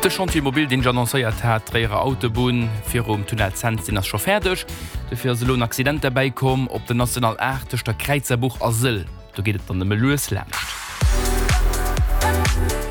De Chantier mobile, deen ech annoncéiert hat, d'Tréierer Autobunn virum Tunnel Cents, deen ass scho fäerdeg. Dofir ass elo en Accident derbäi komm op der National 8 tëscht der Kräizerbuch a Sëll. Do geet et dann nëmme lues laanscht.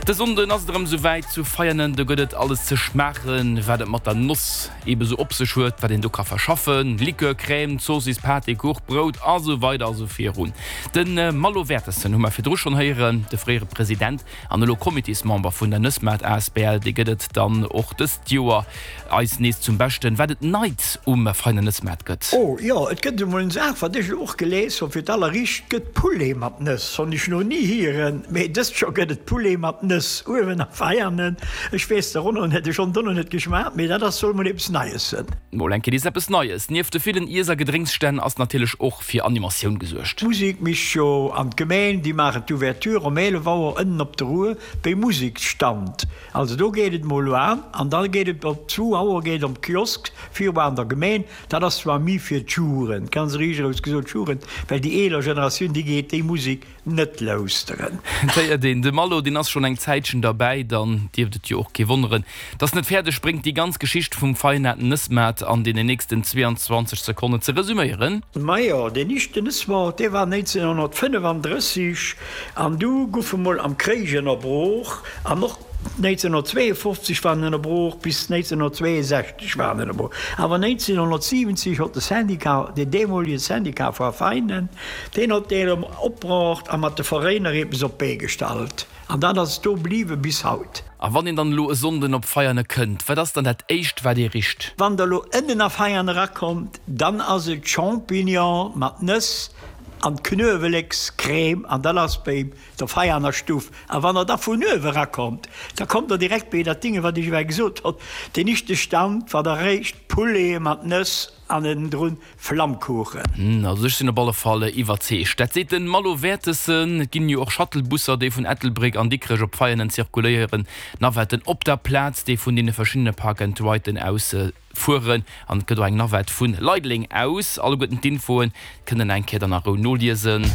De Sonnden ass et erëm esou wäit zu Veianen. Do gëtt et alles ze schmaachen, wat et mat der Noss ebe sou op sech huet, wat een do ka verschaffen, Likör, Crème, Zoossiss, Pâté, Kuch, Brout a sou weider a sou virun. De Malo Wertessen hu mer virdru schonn héieren, de fréiere President an elo Comitésmember vun der Nëssmaart asbl. Dee gëtt et dann och dëst Joer eis nees zum Beschten, wat et Neits um Veiner Nëssmaart gëtt. Oh jo, et gëtt emol en Saach, wat ech elo och gelies hunn fir d'alleréischt, gëtt Poulet mat Nëss. Honn ech no ni hieren, mee dëst Joer gëtt et Poulet mat Nëss uewen a Veianen. Ech weess dorunner net, ech honn dono net geschmaacht, mee dat ass soll mol eppes Neies sënn. Mol eng Kéier nees eppes Neies. Nieft de villen Iess a Gedrénksstänn ass natierlech och fir Animatioun gesuergt. D'Musek mischt jo an d'Gemeen, déi maachen d'Ouverture om 11 Auer ënnen op der Rue béi Museksstand. Also do geet et mol an, an da geet et op zwou Auer geet om Kiosk viru an der Gemeen. Dat ass zwar mi fir d'Jugend, ganz riicheraus gesot d'Jugend, well déi eeler Generatioun, déi geet déi Musek net lauschteren. Et héiert een, de Malo deen ass schonn eng Zäitchen derbäi, dann dierft et jo och kee wonneren, dass en et fäerdeg bréngt déi ganz Geschicht vum Feinaten Nëssmaart an deenen nächsten 22 Sekonnen ze resuméieren. Majo, deen ischten Nëssmaart, dee war 1935 an du guff e mol am Kréich ënnerbrooch an och 1952 war en ënnerbrooch, bis 1962 war en ënnerbrooch. Awer 1970 hott de Syndicat, deen deemolige Syndicat vu Veinen, deen hott dee erëm opbraucht a mat de Veréiner eppes op d'Bee gestallt. An dat ass do bliwwe bis haut. A wann een dann elo e Sonnden op Veiane kënnt, wat ass dann dat éischt wat ee richt? Wann der elo ënnen a Veiane erakommt, dann ass et Champignon mat Nëss an Knuewelekscrème an dat ass béim Der Veianer Stuff. A wann Der da vun uewe erakommt, da kommt Der direkt béi dat Dinge, wat ech ewell gesot hott, deen ischte Stand war der réischt Poulet mat Nëss an ënnendrun Flammkuchen. Also ech sinn op alle Fall iwwerzeegt. Dat seet den Malo Wertessen. Et ginn jo och Shuttlebusser, déi vun Ettelbréck an Dikrech op Veianen zirkuléieren. Navetten op der Plaz, déi vun deene verschiddene Park and Riden aus Fueren an et gëtt och eng Navette vun Leideleng aus. Alleguerten d'Infoen kënnt der eng Kéier dann a Rou noliesen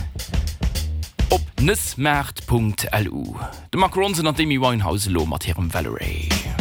op nëssmaart.lu. De Mark Ronson an d'Amy Winehouse elo mat hirem Valerie.